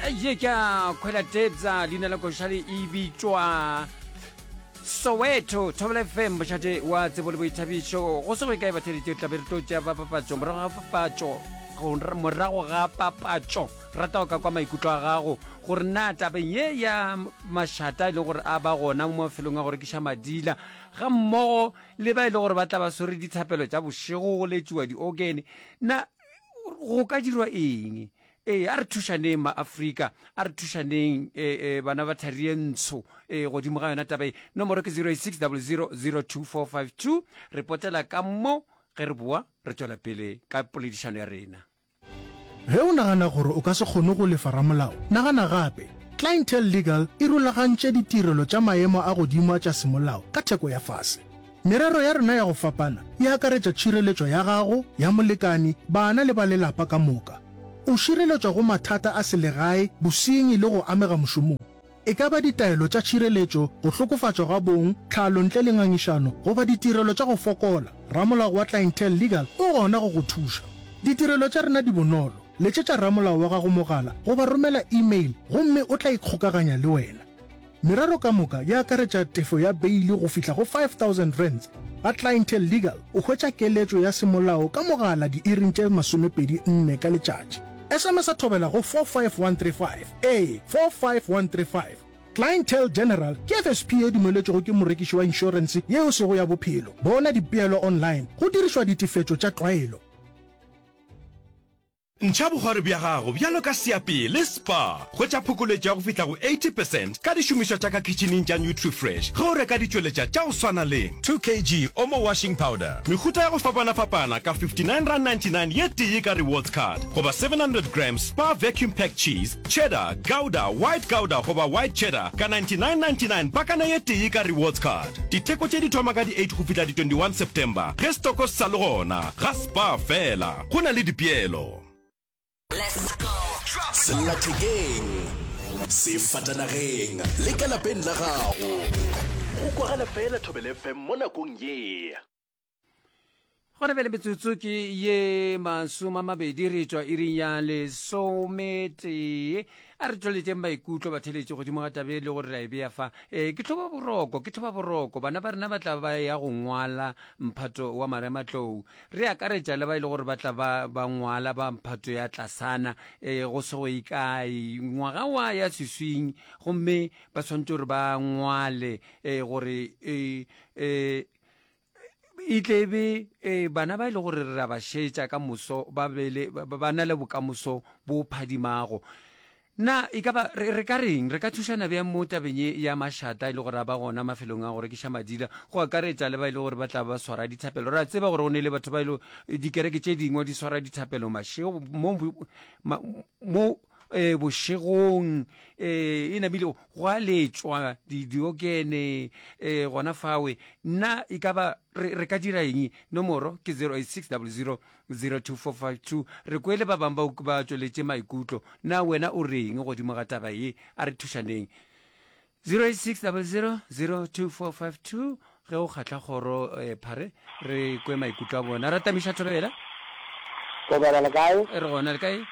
Ye ke a Khwela Tebza, leina la košale e bitšwa Soweto. Thobela FM, mošate wa tsebo le boithabišo. Go se go ye kae batheeletši, re tla be re tlo tšea ba papatšo. Morago ga papatšo, morago ga papatšo, rata go ka kwa maikutlo a gago gore na tabeng ye ya mašata e leng gore a ba gona mo mafelong a go rekiša madila ga mmogo le ba e le gore ba tla ba swere dithapelo tša bošego go letšiwa diokene, na go ka dirwa eng? Ee, a re thušaneng maAfrika, a re thušaneng e, e, bana ba thari ye ntsho e, godimo ga yona taba ye. Nomoro ke 086 00 02452. Re potela ka mo ge re boa re tšwela pele ka poledišano ya rena. Ge o nagana gore o ka se kgone go lefa ramolao, nagana gape. Clientele Legal e rulagantše ditirelo tša maemo a godimo a tša semolao ka theko ya fase. Merero ya rena ya go fapana e akaretša tšhireletšo ya gago, ya molekani, bana le ba lelapa ka moka. O šireletšwa go mathata a selegae, bosenyi le go amega mošomong. E ka ba ditaelo tša tšhireletšo, go hlokofatšwa ga bong, tlhalo ntle le ngangišano goba ditirelo tša go fokola, ramolao wa Clientele Legal o gona go go thuša. Ditirelo tša rena di bonolo, letšetša ramolao wa gago mogala goba romela email gomme o tla ikgokaganya le wena. Merero ka moka e akaretša tefo ya beili go fihla go R5000. Ga Clientele Legal o hwetša keletšo ya semolao ka mogala diiring tše 24 ka letšatši. SMS-a thobela go 45135, ee, 45135. Clientele General ke FSP ye dumeletšwego ke morekiši wa inšorense ye e sego ya bophelo. Bona dipeelo online go dirišwa ditefetšo tša tlwaelo. Ntšha bokgwari bja gago bjalo ka seapee le Spar. Hwetša phokoletšo ya go fihla go 80 percent ka dišomišwa tša ka khitšhining tša Nutrifresh ge o reka ditšweletša tša go swana le, 2 kg Omo washing powder, mehuta ya go fapanafapana ka R59.99 ye tee ka rewards card, goba 700 grams Spar vacuum packed cheese, cheddar, gouda, white gouda goba white cheddar ka R99.99 pakana ye tee ka rewards card. Ditheko tše di thoma ka di 8 go fihla di 21 September ge stoko se sa le gona ga Spar fela. Go na le dipeelo. Sellathekeng, sefatanageng le ka lapeng la gago. Go kwagala fela Thobela FM mo nakong ye. Gona bjale metsotso ke ye masomamabedi re tšwa iring ya lesometee. A re tšweletšeng maikutlo batheletši godimo ga tabe le gore ra e bea fa. E, ke tlhoba boroko, ke tlhoba boroko. Bana ba rena ba tla ba ya go ngwala mphato wa marematlou. Re akaretša le ba e le gore ba tla ba ba ngwala ba mphato ya tlasana e, go se go ye kae ngwaga wa ya seswing, gomme ba swanetše gore ba ngwale e, gore e, e, e tle e be e, bana ba e le gore re ra ba šetša ka moso ba be le, ba, ba na le bokamoso bo phadimago. Na e ka ba re, re ka reng? Re ka thušana bjang mo tabeng ye ya mašata e le gore a ba gona mafelong a go rekiša madila, go akaretša le ba e le gore ba tla ba swara dithapelo? Re a tseba gore go ne le batho ba e le dikereke tše dingwe di swara dithapelo mašego mo, ma, mo e, bošegong e, e namile go a letšwa di, diokene e, gona fawe. Na e ka ba re, re ka dira eng? Nomoro ke 086 00 02452 Re kwele ba bangwe ba, ba tšweletše maikutlo. Na wena o reng godimo ga taba ye? A re thušaneng. 086 00 02452 Ge o kgahla kgoro eh, phare, re kwe maikutlo a bona. Ratamiša Thobela. Thobela le kae? Re gona, le kae?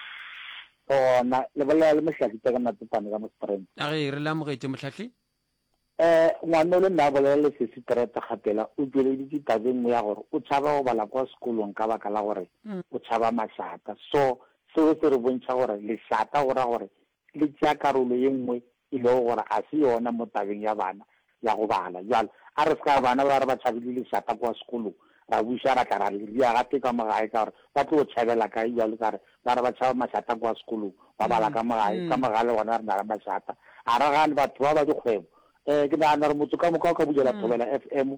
Re gona. Le bolela le Mohlahli Teka Matsepane ka mo Springs. A ge re le amogetše Mohlahli. Eh, ngwana o le nna a bolela le sesi Tereta Kgapela o tšweleditše taba e nngwe ya gore o tšhaba go bala kwa sekolong ka baka la gore o tšhaba mašata. So, seo se re bontšha gore lešata go ra gore le tšea karolo ye nngwe e lego gore ga se yona mo tabeng ya bana ya go bala. Bjale, a re se ka re bana ba re ba tšhabile lešata kwa sekolong, ra buša ra tla ra le ria gape ka mo gae ka gore ba tlo tšhabela kae bjalo ka re Ba re ba tšhaba mašata kua sekolong, ba bala ka mo gae, ka mo gae le gona re na le mašata. A re gane batho ba ba dikgwebo. Um ke nagana gore motse ka moka o ka bulela Thobela FM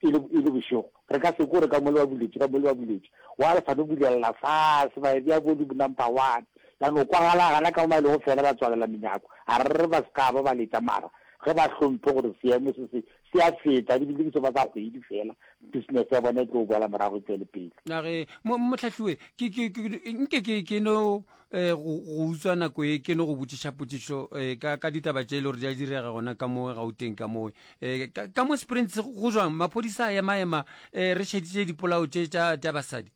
e le, e le bošego. Re ka se kwe gore ka mo le ba buletše, ka mo le ba buletše. Wa re sa no bulelela fase, ba e bea volume number one. Ya no kwagala gana ka mo ba e lego fela ba tswalela menyako. A re re ba se ka ba ba letša mara ge ba hlomphe gore seemo se se se a feta, ebile ke seba sa kgwedi fela, business ya bona e tlo boela morago e tswele pele. A re, Mo, Mohlahliwe, ke, ke, ke, nke ke, ke no eh, go, go utswa nako ye, ke no go botšiša potšišo eh, ka, ka ditaba tše e le gore di a direga gona ka mo Gauteng ka mo. Eh, ka, ka mo Springs go jwang? Maphodisa a ema-ema eh, re šeditše dipolao tše tša, tša basadi.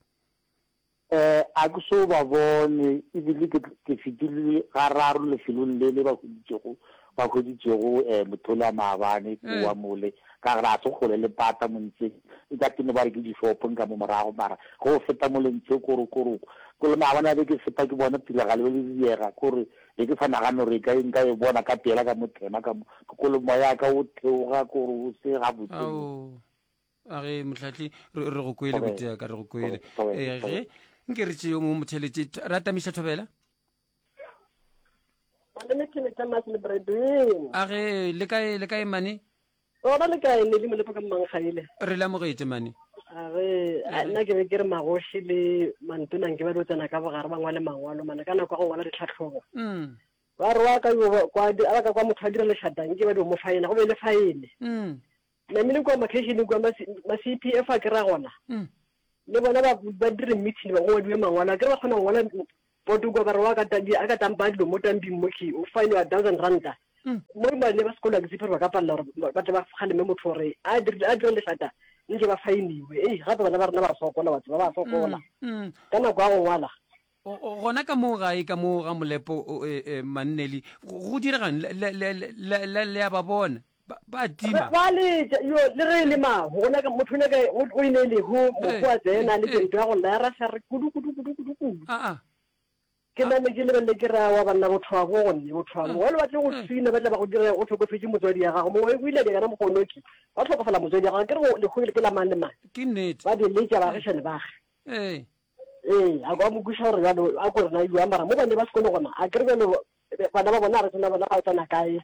Eh, a ke so ba bone, ebile ke, ke fetile gararo lefelong le le ba hweditšego, ba hweditšego eh, motho yola maabane kua mole, ka gore a se kgole le pata mo ntseng, e ka tene ba re ke dishopong ka mo morago, mara ge o feta mole ntse koro koro, ko le maabane a be ke feta ke bona tiragalo e le diega, kore be ke sa nagane gore e ka nka e bona ka pela ka mo thema ka mo, ke kole moya ka o theoga kore o se gabotse. Ao. A ge mohlahli re re go kwele boteaka re go kwele. Eh ge nke re tšeo mo motheletše ra tamiša thobela. Malome ke le Thomas le Bredwin. A ge le kae le kae mane? Gona le kae ne le molepo ka mmanggaile. Re le amogetše mane. A ge nna ke be ke re magoši le mantona nke ba dio tsena ka bogare ba ngwale mangwalo mane ka nako ya go ngwala ditlhahlobo. Mm. Ba re wa ka yo kwa a ba ka kwa motho a dira lešata nke ba dio mo faena go be le faene. Mm. Namile kua makheišeneng kua ma CPF a kera gona. Mm. Le bona ba ba dire meeting ba go ngwadiwe mangwalo a kere ba kgona go ngwala poto kua ba re wa ka a ka tampa dilo mo tamping mo ke o fine wa thousand ranta. Mm. Mo bane ba sekolo a ke tshepe gore ba ka palela gore ba tle ba kgaleme motho gore a dirile a dire lešata nke ba faeniwe. Ei gape bana ba rena ba sokola wa tseba ba sokola. Mm. Ka nako ya go ngwala. Gona ka mo gae ka mo ga Molepo Manneli go diregang le a ba bona ba tima ba letša yo le ge e le mahu gona ka motho o nyaka o e ne lehu mohu a tsena le tšento ya go lla ya raša re kudu kudu kudu kudu kudu a ke name ke lebelele ke ra wa banna botho wa bo gonne botho wa bo wale ba tle go sina ba tla ba go dira go hlokofetše motswadi ya gago mongwe o ile a dira mogonoki ba hlokofala motswadi ya gago ke re go lehu ke la mang le mang ke nnete ba di letša baagišane bage ee Ee, a kwa mo kweša gore bjalo a ko rena jwang mara mo bane ba sekolo gona a kere bjalo bana ba bona a re tsena bona ba tsena kae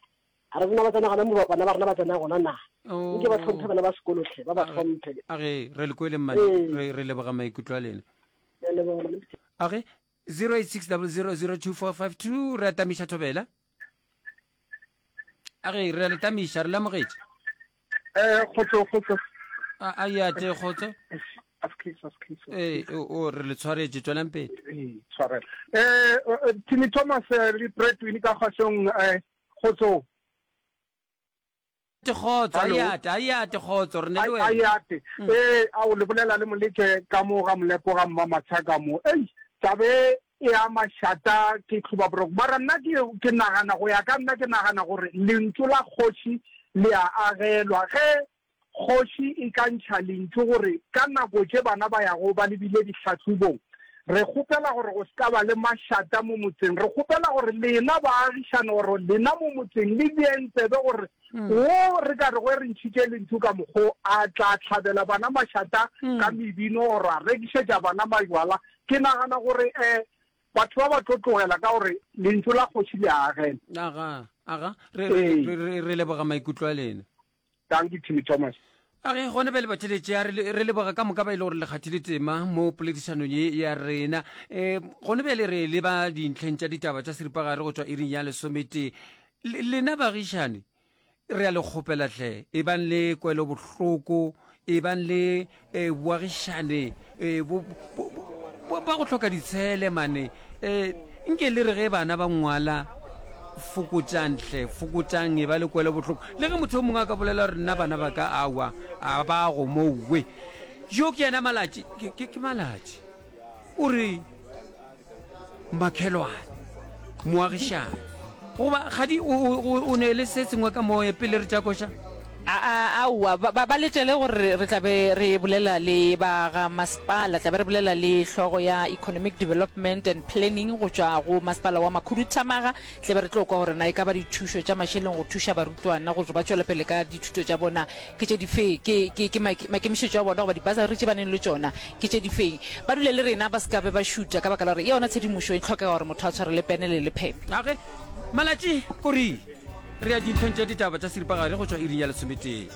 a re tsena ba tsena gona mo bana ba rena ba tsena gona na nke ba tlhomphe bana ba sekolo tlhe ba ba tlhomphe a ge re le kwele mmane re re leboga maikutlo a lena a ge 0860002452 re atamiša thobela A re re a le tamiša, re le amogetše. Eh, kgotso, kgotso. A a ya te kgotso. Askies, askies. Eh, o re le tshwaretše, tswelang pele. Eh, tshwarela. Eh, eh Timmy Thomas eh, le Bradwin ka kgosong eh kgotso. Te kgotso, a yate, a yate kgotso, re ne le wena. A yate. Mm. Eh, a o le bolela le moleke ka mo ga molepo ga mma matshaka mo. Ei, tabe e a mašata ke tlhoba boroko. Mara nna ke ke nagana go ya ka nna ke nagana gore lentšu la kgoši le a agelwa ge Kgoši e ka ntšha lentšu gore ka nako tše bana ba yago ba lebile dihlahlobong, re kgopela gore go se ka ba le mašata mo motseng. Re kgopela gore lena baagišane gore lena mo motseng le beeng tsebe gore wo re ka rego re ntšhitše lentšu ka mokgo a tla hlabela bana mašata ka mebino gore a rekišetša bana majwala. Ke nagana gore um batho ba ba tlo tlogela ka gore lentšu la kgoši le a agela. Aga, aga, re, re, re, re leboga maikutlo a lena. Dankie Timmy Thomas. A ge gona bjale batheletše a re leboga ka moka ba e le gore le kgathile tema mo poledišanong ye ya rena. Um gona bjale re leba dintlheng tša ditaba tša seripagare go tšwa iring ya lesometee. Lena bagišane re a le kgopela hle, ebang le kwelobohloko, ebang le um boagišane um bo, bo, bo, ba go hloka ditshele mane. Um nke le re ge bana ba ngwala fokotšang hle, fokotšang, e ba le kwelo bohloko. Le ge motho yo mongwe a ka bolela gore nna bana ba ka awa a ba go mowe. Yo ke yena Malatši, ke, ke, ke Malatši. O re makhelwane, moagišane. Goba kgadi o, o, o ne le se sengwe ka moye pele re tša koša? Aowa, ba, ba, ba letele gore re tla be re bolela le ba ga masepala, tla be re bolela le hlogo ya Economic Development and Planning go tšwa go masepala wa Makhuduthamaga, tla be re tlo kwa gore na e ka ba dithušo tša mašeleng go thuša barutwana gore ba tšwele pele ka dithuto tša bona ke tše dife, ke, ke, ke maikemišetšo a bona goba dibasari tše ba neng le tšona ke tše difeng. Ba dule le rena, ba se ka be ba šuta ka baka la gore yona tshedimošo e hlokega gore motho a tshware le pene le lephephe. A ge, Malatši, Korii. Re ya dintlheng tša ditaba tša seripagare go tšwa iring ya lesometee.